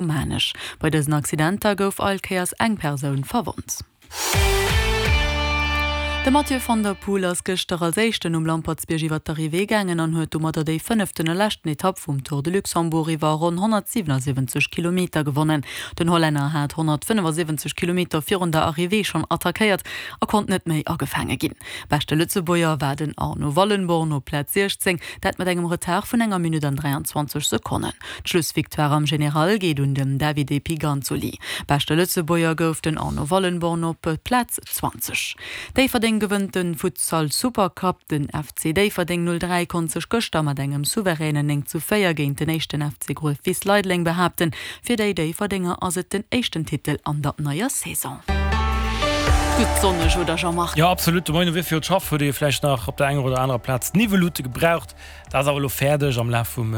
Maarnech. Bei dësen Accidenter gouf all Kéiers eng Persoun verwonnt. De Mathieu van der Poel ass gëschter als éischten um Lampertsbierg iwwer d'Arrivée gaangen an huet domadder déi fënneften a leschten Etapp vum Tour de Luxembourg iwwer ronn 177 Kilometer gewonnen. Den Hollänner hat 175 Kilometer virun der Arrivée schonn attackéiert a konnt net méi agefaange ginn. Beschte Lëtzebuerger war den Arno Wallenborn op Plaz 16, dat mat engem Retard vun enger Minutt an 23 Sekonnen. D'Schlussvictoire am General geet un den Davide Piganzoli. Beschte Lëtzebuerger gouf den Arno Wallenborn op Plaz 20. Déifferdeng gewënnt de Futsal Supercup. Den FC Déifferdeng 03 konnt sech gëschter mat engem souveränen 9 zu 4 géint den éischten FC Gruef-Wiss Leideleng behaapten. Fir déi Déifferdenger ass et den éischten Titel an der neier Saison. Gutt sonneg, oder Jean-Marc? Jo absolut, de Moien um Wier fir d'Schaff huet ee vläicht nach op der enger oder anerer Plaz Niwwellutte gebraucht. Dat ass awer elo fäerdeg. Am Laf vum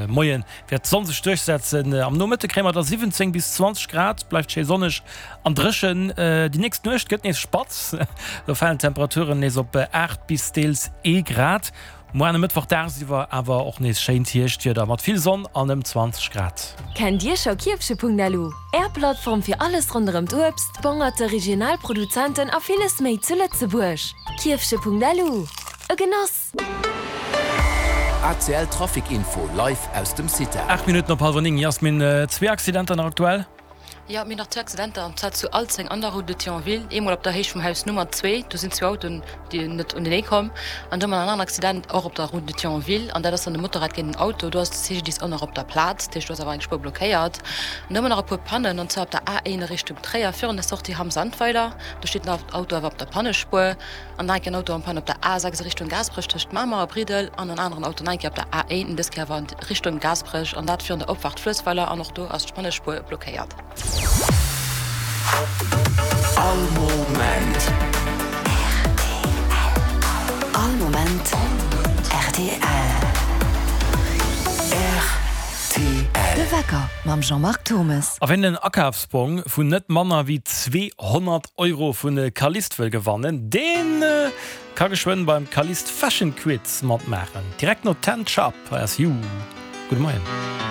Moie wäert d'Sonn sech duerchsetzen. Am Nomëtte kréie mer da 17 bis 20 Grad, bleift schéi sonneg an dréchen. Déi nächst Nuecht gëtt nees spatz, do falen d'Temperaturen nees op 8 bis deels ee Grad. Muar e Mëttwoch dagsiwwer awer och nees schéint Hierschtwieder mat vill Sonn an ëm 20 Grad. Kennt Dir scho Kierfche.lu? Är Plattform fir alles ronderëm d'Uebst, d'Bongerte, regional Produzenten a villes méi zu Lëtzebuerg. Kierfche.lu, e Genoss! ACL Trafic Info live aus dem CITA. 8 Minutten op hallwer 9, Yasmin, zwee Accidenter nach aktuell? Jo, mir hunn nach zwou Accidenter, an zwar zu Alzeng an der Route de Thionville, eemol op der Héicht vum Haus Nummer 2, do sinn zwou Autoen déi net unenee komm, an do hu mer nach en aneren Accident, och op der Route de Thionville, an dat ass dann e Motorrad géint en Auto, do ass de CGDIS och nach op der Plaz, dat heescht do ass awer eng Spuer blockéiert. An do hu mer nach e puer Pannen, an zwar op der A1 a Richtung Tréier virun der Sortie Hamm-Sandweiler, do steet den Auto awer op der Pannespuer. An nach eng Kéier en Auto en panne op der A6 a Richtung Gaasperech tëscht Mamer a Bridel an en aneren Auto nach eng Kéier op der A1, dës Kéier awer an Richtung Gaasperech an dat virun der Opfaart Fluessweiler an och do ass d'Pannespuer blockéiert. All Moment. All Moment rtl. Rtl. De Wecker mam Jean-Marc Thommes. A wien en Akafsbong vun net manner wéi 200 Euro vu Calliste wëll gewannen, dee ka geschwënn beim Calliste Fashion Quiz matmaachen. Direkt no Ten Sharp hei ass You. Gudde Moien.